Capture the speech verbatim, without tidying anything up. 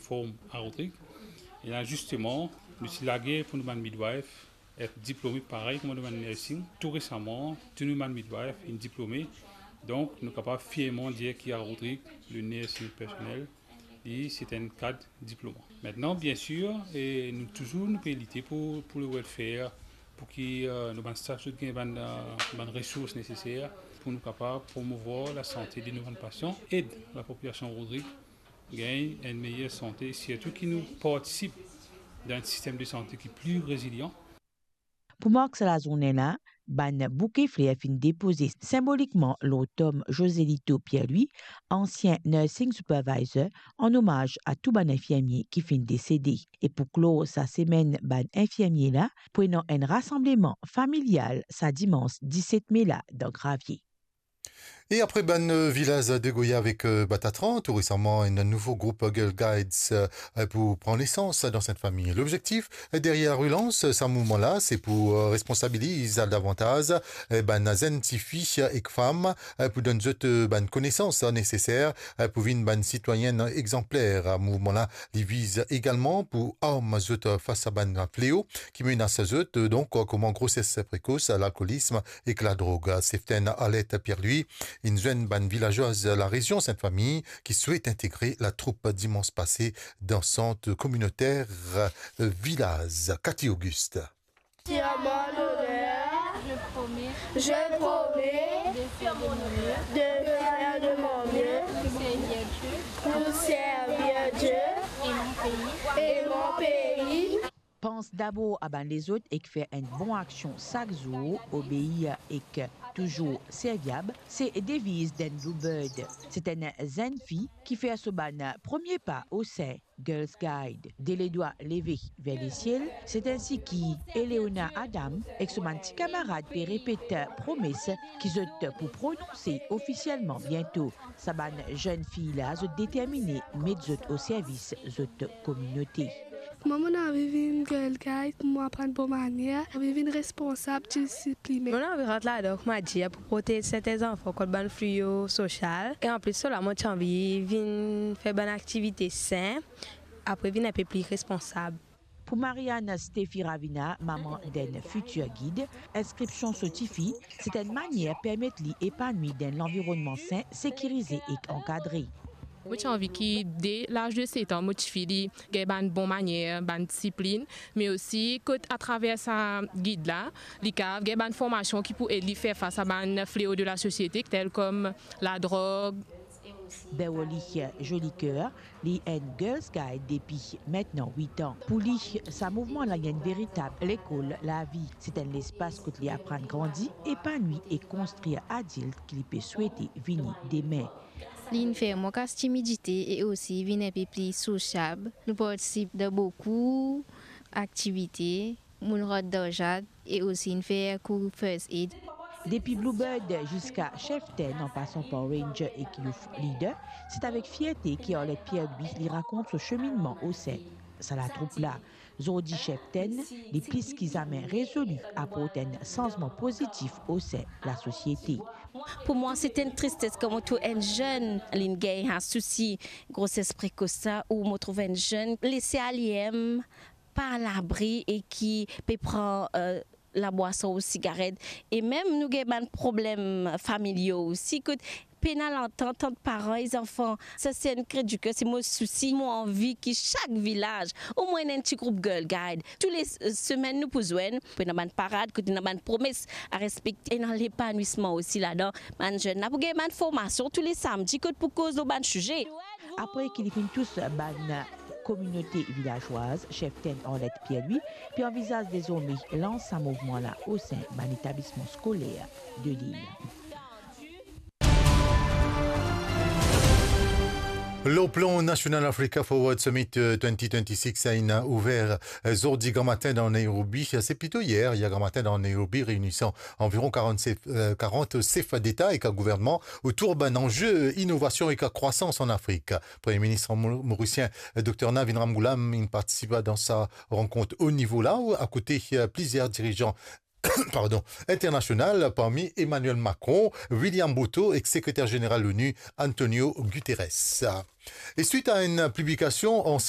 Form a Rodrig. E la zisteman, nou ti lager pou nou bann midwife et diplome parey kouma nou bann nursing. Tou resaman, tou nou bann midwife inn diplome. Donk, nou kapav fierman dir ki a Rodrig, le nursing personnel, li, se enn kad diplome. Aster, biensir, e nou touzour, nou pe lite pou, pou le welfare, pou ki, eh, nou bann staf zot gagn bann, eh, bann resours neseser pou nou kapav promouvwar lasante de nou bann pasian, ed lapopilasion Rodrig gagn enn meyer sante, sirtou ki nou partisip dan enn sistem de sante ki pli rezilian. Pou mark sa lazourne la, bann bouke fler finn depoze sinbolikman lor tom Joselito Pierre-Louis, ansien nursing supervisor, an omaz a tou bann infirmie ki finn desede. E pou klor sa semenn bann infirmie la, pou ena enn rasanbleman familial sa dimans diset me la dan Gravie. E apre bann, eh, vilaz Degoya avek, eh, Batatran, tou resaman, enn nouvo group Girl Guides, eh, pou pran nesans dan Sint Fami. Lobzektif, eh, deryer relans sa mouvman la, se pou, eh, responsabiliz davantaz, eh, bann zenn tifi ek fam, eh, pou donn zot, eh, bann konesans neseser, eh, pou vinn bann sitwayenn egzanpler. Mouvman la, li viz egalman pou arm zot fas a bann fleo ki menas zot, donk, kouma groses prekos, lalkolism ek ladrog. Seftenn Arlette Pierre-Louis inn zwenn bann vilazwaz larezion Sint Fami ki swet integre latroup dimans pase dan sant kominoter, eh, vilaz. Cathy Auguste. Sur mon honneur, je promets de faire de mon mieux, de faire de mon mieux pour servir Dieu, pour servir Dieu et mon pays, et mon pays. Pans dabor a bann lezot ek fer enn bon aksion sak zour, obeir ek touzour serviab, se deviz dan Bluebird. Se enn zenn fi ki fer so bann premie pa osin Girls Guide. De ledwa leve ver lesiel, se ensi ki Eleona Adam ek so bann ti kamarad pe repet promes ki zot pou prononse ofisielman biento. Sa bann zenn fi la, zot determine met zot o servis zot kominote. Mwa, mo anvi vinn Girl Guide pou mo aprann bon manier, anvi vinn responsab, disiplinen. Mo anvi rant ladan, kouma dir, pou protez serten zanfan kont bann fleo sosial. E anplis de sa, mo ti anvi vinn fer bann aktivite sin, apre vinn enn pe pli responsab. Pou Marianne Steffi Ravina, mama d'enn fitir gid, inskripsion so tifi, se enn manier permet li epanwi dan enn lanvironnman sin, sekirize ek ankadre. Mo ti anvi ki de laz de set an, mo tifi li gagn bann bon manier, bann disiplin, me osi kot atraver sa gid la, li kapav gagn bann formasion ki pou ed li fer fas a bann fleo de lasosiete, tel kom ladrog. Beverly Jolicoeur, li enn Girls Guide depi aster wit an. Pou li, sa mouvman la enn veritab lekol lavi. Se enn lespas kot li aprann grandi, epanwi e konstrir adilt ki li pe swete vini demin. Li inn fer mwa kas timidite e osi vinn enn pe pli sosiab. Nou partisip dan boukou aktivite. Mo rant dan zak e osi inn fer kour first aid. Depi Bluebird ziska Chieftain, an pasan par Ranger ek Youth Leader, se avek fierte ki Arlette Pierre-Louis li rakont so seminnman osin sa latroup la. Zordi Chieftain, li plis ki zame rezoli aport enn sanzman pozitif osin lasosiete. Pou mwa, se enn tristes kan mo trouv enn zenn, li'nn gagn sa sousi groses prekos sa, ou mo trouv enn zenn lese alie, pa labri e ki pe pran, eh, labwason ou sigaret. E mem nou gagn bann problem familial osi, kot pena lantant ant paran e zanfan. Sa se enn kri di ker, se mo sousi, mo anvi ki sak vilaz, omwin enn ti group Girl Guide. Tou le s-, semenn nou pou zwenn, pou ena bann parad, kot ena bann promes a respekte, ena lepanwisman osi ladan. Bann zenn la pou gagn bann formasion tou le samdi, kot pou koz lor bann size. Apre ki li finn tous bann kominote vilazwaz, Chieftain Arlette Pierre-Louis pe anvizaz dezorme lans sa mouvman la osin bann etablisman skoler de lil. Lor plan nasional, Africa Forward Summit, eh, twenty twenty-six inn ouver, eh, zordi gramatin dan Nairobi. Se plito yer, yer gramatin dan Nairobi, reinisan anviron karant sef, eh, karant sef deta ek gouvernman otour bann anze inovasion ek krwasans an Afrik. Premie Minis mo-, morisien, eh, Dokter Navin Ramgoolam, inn partisip dan sa rankont o nivo la, akote, eh, plizier dirijan, pardon, internasional, parmi Emmanuel Macron, William Ruto ek Sekreter Zeneral Lonu, Antonio Guterres. E swit a enn piblikasyon an